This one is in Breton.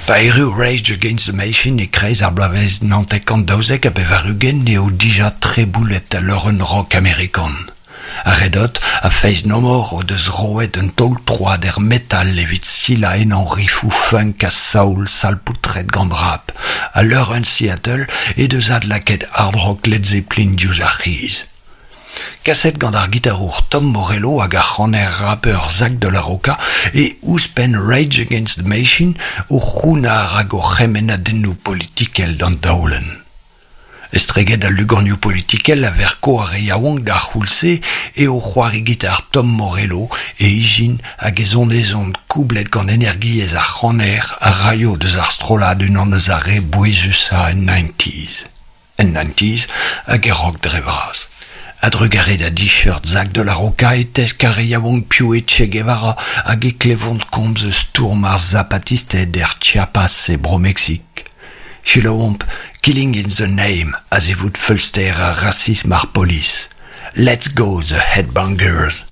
Pa erru Rage Against the Machine e-kreiz ar bloavezh 1992 eo dija treboulet al leurenn rock amerikan. Ar Red Hot ha Faith No More o deus roet un taol-troad er metal evit silañ ennañ rifoù funk ha soul salpoutret gant rap, ha leurenn Seattle he deus adlakaet hard rock Led Zeppelin diouzh ar c'hiz. Kaset gant ar gitarour Tom Morello hag ar c'haner rapper Zack de la Rocha e ouzhpenn Rage Against the Machine o c'hounnar hag o c'hemennadennoù politikel d'an daolenn. Estreget al luganioù politikel a verko ar re yaouank d'ar c'houlz-se eo c'hoari gitar Tom Morello e ijin hag e zonezon koublet gant energiezh ar c'haner a raio deus ar strollad unan eus ar re bouezusañ en nineties. En nineties hag er rock dre vras. A-drugarez da d-shirt Zack de la Rocha e tesk ar re yaouank piv eo Che Guevara hag e klevont komz eus stourm ar zapatisted er Chiapas e Bro-Meksik. Selaouomp Killing in the Name a-zivout feulster ha rasism ar polis. Let's go the Headbangers!